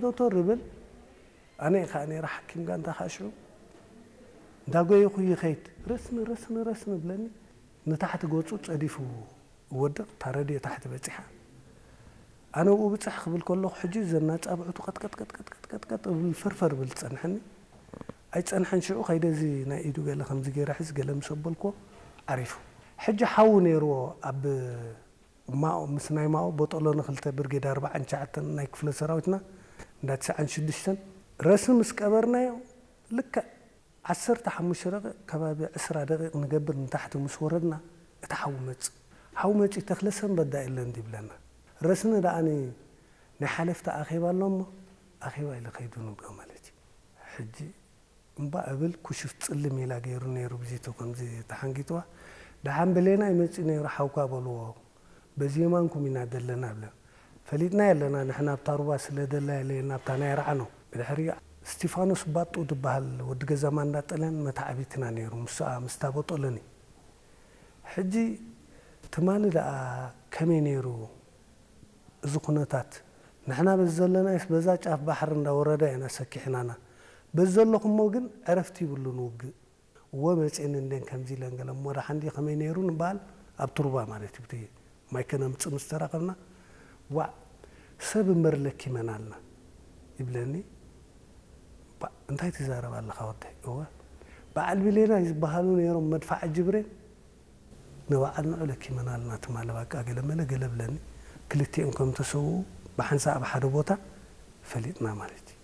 ቶቶር ይብል። ኣነ ከዓ ነይረ ሓኪም ጋንታ ከዓ ሽዑ እንዳጎየኹ ይኸይድ። ረስኒ፣ ረስኒ፣ ረስኒ ብለኒ። ንታሕቲ ገጹ ጸዲፉ ይወድቕ፣ እታ ረድዮ ታሕቲ በጺሓ። ኣነ ኣብኡ ብጽሕ ክብል ከለኹ፣ ሕጂ ዘናጻብዕቱ ቀጥቀጥ፣ ቀጥቀጥ፣ ቀጥቀጥ፣ ቀጥቀጥ እብል፣ ፈርፈር ብል ዝጸንሐኒ። ኣይጸንሐን ሽዑ፣ ከይደ እዚ ናይ ኢዱ ገለ ከምዚ ገይረ ሕዝ፣ ገለ ምስ ኣበልኩዎ፣ ዓሪፉ። ሕጂ ሓዉ ነይርዎ ኣብ ማኦ፣ ምስ ናይ ማኦ ቦጦሎኒ ክልተ ብርጌድ ኣርባዓን ትሽዓተን ናይ ክፍለ ሰራዊትና እንዳ ትስዓን ሽዱሽተን ረስኒ ምስ ቀበርናዮ፣ ልክዕ ዓሰርተ ሓሙሽተ ደቂቕ፣ ከባቢ ዕስራ ደቂቕ ንገብር ንታሕቲ ምስ ወረድና፣ እቲ ሓዊ መጽእ። ሓዊ መጺኡ፣ ተኽለ ሰንበት ዳ የለን ድዩ ይብለና። ረስኒ ደኣኒ ናይ ሓለፍቲ ኣኼባ ኣሎ እሞ፣ ኣኼባ ኢለ ከይዱ ንብሎ ማለት እዩ። ሕጂ እምባ እብል፣ ኩሽፍ ጽልም ኢላ ገይሩ ነይሩ፣ ብዚቱ ከምዚ ተሓንጊጥዋ። ደሓን ብሌናይ መጺኡ ነይሩ፣ ሓውካ በልዎ። በዚ የማንኩም ኢና ዘለና ብለን። ፈሊጥና የለና፣ ንሕና ኣብታ ሩባ ስለ ደላ የለየና፣ ኣብታ ናይ ራዕኖ። ብድሕሪ እስቲፋኖስ ባጡ ዝበሃል ወዲ ገዛ ማንዳ ጥልያን መታዕቢትና ነይሩ፣ ምስኣ፣ ምስታ ቦጦሎኒ። ሕጂ ትማሊ ደኣ ከመይ ነይሩ እዚ ኩነታት? ንሕና በዚ ዘለናይስ በዛ ጫፍ ባሕሪ እንዳወረዳ ኢና ሰኪሕናና። በዚ ዘለኹሞ ግን ዕረፍቲ ይብሉን ውግእ። እወ መጺእን እንዴን ከምዚ ኢለን ገለ እሞ ደሓን ድዩ ከመይ ነይሩ ንበሃል ኣብ ቱርባ ማለት እዩ። ብቲ ማይ ከነምጽእ ምስ ተራኸብና፣ ዋዕ ሰብ እምበር ለኪመና ኣልና ይብለኒ። ባዕ እንታይ ትዛረብ ኣለኻ ወደይ? እወ በዓል ብሌናይ ዝበሃሉ ነይሮም መድፋዕ ጅብሬን ንበዓል ንዑ ለኪመና ኣልና ትማሊ በቃ ገለ መለ ገለ ብለኒ። ክልቲኦም ከም ተሰውኡ ብሓንሳእ ኣብ ሓደ ቦታ ፈሊጥና ማለት እዩ።